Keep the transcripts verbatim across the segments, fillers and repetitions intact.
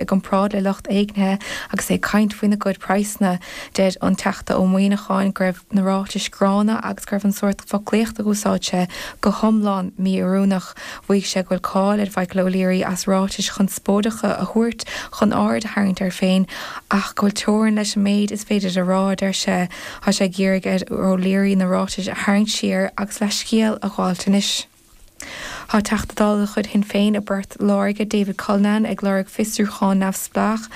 i gcomparáid le lucht éignithe agus é ag caint faoina gcuid praghsanna. Deir an Teachta Ó Muíneacháin go raibh na ráitis gránna agus go raibh an sórt foclaíochta a d'úsáid sé go hiomlán mí-oiriúnach. Mhaígh sé go bhfuil cáil ar Mhichael O'Leary as ráitis chonspóideacha a thabhairt chun aird a tharraingt air féin ach go bhfuil teorainn leis an méid is féidir a rá, deir sé. Tá sé ag iarraidh ar O'Leary na ráitis a tharraingt siar agus leithscéal a ghabháil anois. Tá Teachta Dála de chuid Shinn Féin i bPort Láirge David Cullinane ag lorg fiosrúchán neamhspleách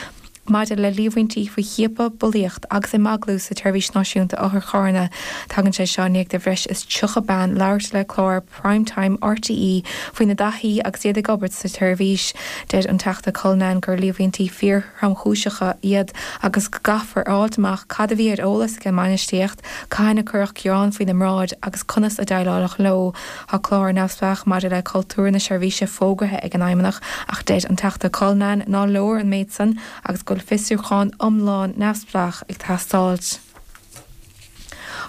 maidir le líomhaintí faoi chiapadh, bulaíocht agus imeaglú sa tSeirbhís Náisiúnta Otharcharranna. Tagann sé seo i ndiaidh do bhreis is tríocha bean labhairt le clár Primetime RTÉ faoina dtaithí agus iad ag obair sa tseirbhís. Deir an Teachta Cullinane gur líomhaintí fíorthromchúiseacha iad agus go gcaithfear a fháil amach cad a bhí ar eolas ag an mbainistíocht, cathain a cuireadh gearán faoina mbráid agus conas a déileáladh leo. Tá clár neamhspleách maidir le cultúr na seirbhíse fógartha ag an Fheidhmeannach ach deir an Teachta Cullinane nach leor an méid san agus go bhfuil fiosrúchán iomlán neamhspleách ag teastáil.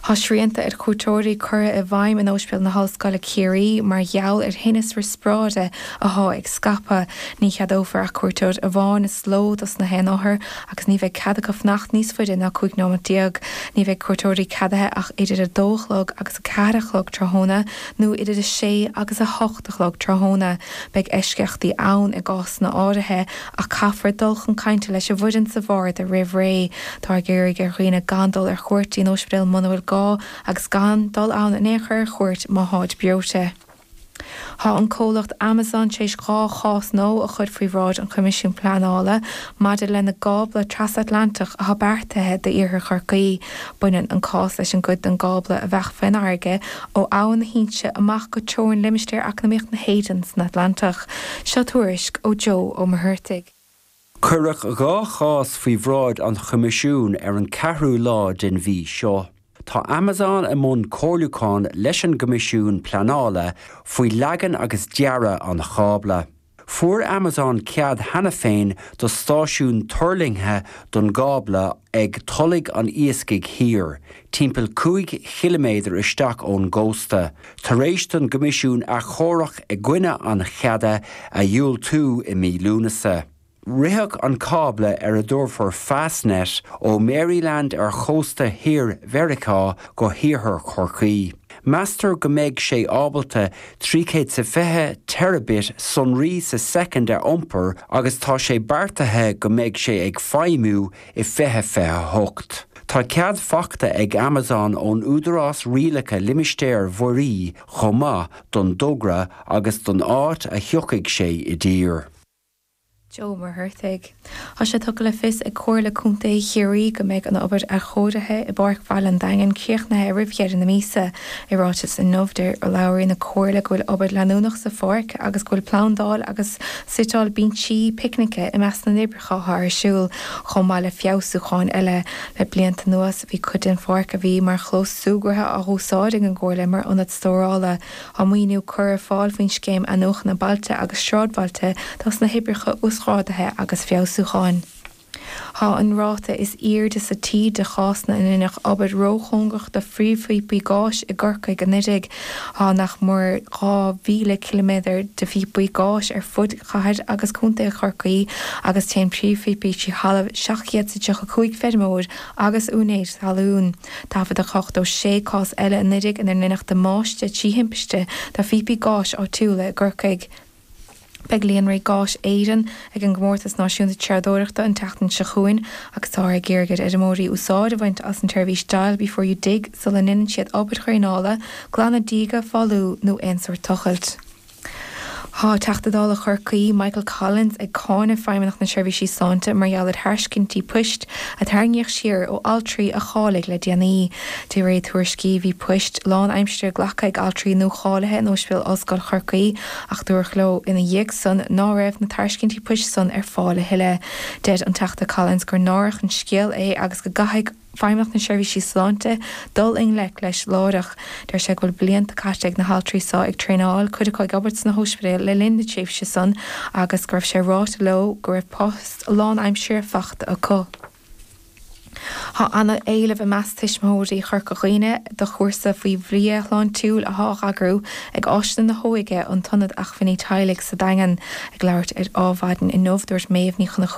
Tá srianta ar chuairteoirí curtha i bhfeidhm in Ospidéal na hOllscoile Ciarraí mar gheall ar thinneas riospráide atá ag scaipeadh. Ní cheadófar ach cuairteoir amháin sa ló dos na haon othar agus ní bheidh cead acu fanacht níos faide ná cúig nóiméad déag. Ní bheidh cuairteoirí ceadaithe ach idir a dó a chlog agus a ceathair a chlog tráthnóna nó idir a sé agus a hocht a chlog tráthnóna. Beidh eisceachtaí ann i gcásanna áirithe ach caithfear dul chun cainte leis an bhfoireann sa bharda roimh ré. Tá ag iarraidh ar dhaoine gan dul ar cuairt in ospidéal muna bhfuil gá agus gan dul ann in aon chor ar chuairt má tháid breoite. Tá an comhlacht Amazon tar éis dhá chás nua a chur faoi bhráid an Choimisiúin Pleanála maidir lena gcábla trasatlantach atá beartaithe d'iarthar Chorcaí. Baineann an cás leis an gcuid den gcábla a bheadh faoin bhfarraige ó Abhainn na hInse amach go teorainn limistéar eacnamaíoch na hÉireann san Atlantach. Seo tuairisc ó Joe Ó Muircheartaigh. Cuireadh dhá chás faoi bhráid an Choimisiúin ar an ceathrú lá den mhí seo. Tá Amazon i mbun comhairliúcháin leis an gCoimisiún Pleanála faoi leagan agus dearadh an chábla. Fuair Amazon cead cheana féin do stáisiún tuirlingthe don gcábla ag Tulaigh an Iascaigh Thiar, timpeall cúig chiliméadar isteach ón gcósta, tar éis don gCoimisiún achomharc i gcoinne an cheada a dhiúltú i mí Lúnasa. Rithfeadh an cábla ar a dtabharfar Fastnet ó Maryland ar chósta thiar Mheiriceá go hiarthar Chorcaí. Meastar go mbeidh sé ábalta trí chéad is fiche terabit sonraí sa soicind a iompar agus tá sé beartaithe go mbeidh sé ag feidhmiú i fiche fiche hocht. Tá cead faighte ag Amazon ón Údarás Rialaithe Limistéir Mhuirí chomh maith don dtogra agus don áit a thiocfaidh sé i dtír. Joe Muircheartaigh. Tá sé tugtha le fios ag Comhairle Contae Chiarraí go mbeidh an obair athchóirithe i bPáirc Bhaile an Daingin críochnaithe roimh dheireadh na míosa. I ráiteas inniu deir urlabhraí na Comhairle go bhfuil obair leanúnach sa pháirc agus go bhfuil plandáil agus suiteáil binsí picnice i measc na n-oibreacha atá ar siúl chomh maith le feabhsúcháin eile. Le blianta anuas bhí cuid den pháirc a bhí mar chlós súgartha á húsáid ag an gComhairle mar ionad stórála. Tá maoiniú curtha ar fáil faoin scéim athnuachana bailte agus sráidbhailte dos na hoibreacha uasghrádaithe agus feabhsúcháin. Tá an ráta is airde sa tír de chásanna ina ndearnadh obair róchóngarach do phríomhphíopaí gáis i gCorcaigh anuraidh. Tá nach mór dhá mhíle ciliméadar de phíopaí gáis ar fud chathair agus contae Chorcaí agus téann príomhphíopaí trí thalamh seacht gcéad is tríocha cúig feirmeoir agus úinéir talún. Taifeadadh ochtó sé cás eile anuraidh inar ndearnadh damáiste trí thimpiste do phíopaí gáis áitiúla i gCorcaigh. Beidh Líonraí Gáis Éireann ag an gComórtas Náisiúnta Treabhdóireachta an tseachtain seo chugainn agus tá ag iarraidh ar fheirmeoirí úsáid a bhaint as an tseirbhís Dial Before You Dig sula ndéanann siad obair dhraenála, glanadh díge, fálú nó aon sórt tochailt. Tá Teachta Dála Chorcaí Michael Collins ag cáineadh Feidhmeannacht na Seirbhísí Sláinte mar gheall ar thairiscintí poist a tarraingíodh siar ó altraí a cháiligh le déanaí. De réir tuairiscí bhí poist lánaimseartha glactha ag altraí nuacháilithe in Ospidéal Ollscoil Chorcaí ach dúradh leo ina dhiaidh san ná raibh na tairiscintí poist san ar fáil a thuilleadh. Deir an Teachta Collins gur náireach an scéal é agus go gcaithfidh Feidhmeannacht na Seirbhísí Sláinte dul i ngleic leis láithreach. Deir sé go bhfuil blianta caite ag na haltraí seo ag traenáil, cuid acu ag obair sna hospidéil le linn na tréimhse san agus go raibh sé ráite leo go raibh post lánaimseartha faighte acu. Tá an-éileamh i measc tuismitheoirí Chorca Dhuibhne do chúrsa faoi bhia shláintiúil atá á eagrú ag Áiseanna na hÓige an tIonad Acmhainní Teaghlaigh sa Daingean. Ag labhairt ar Adhmhaidin inniu dúirt Méabh Ní Chonchú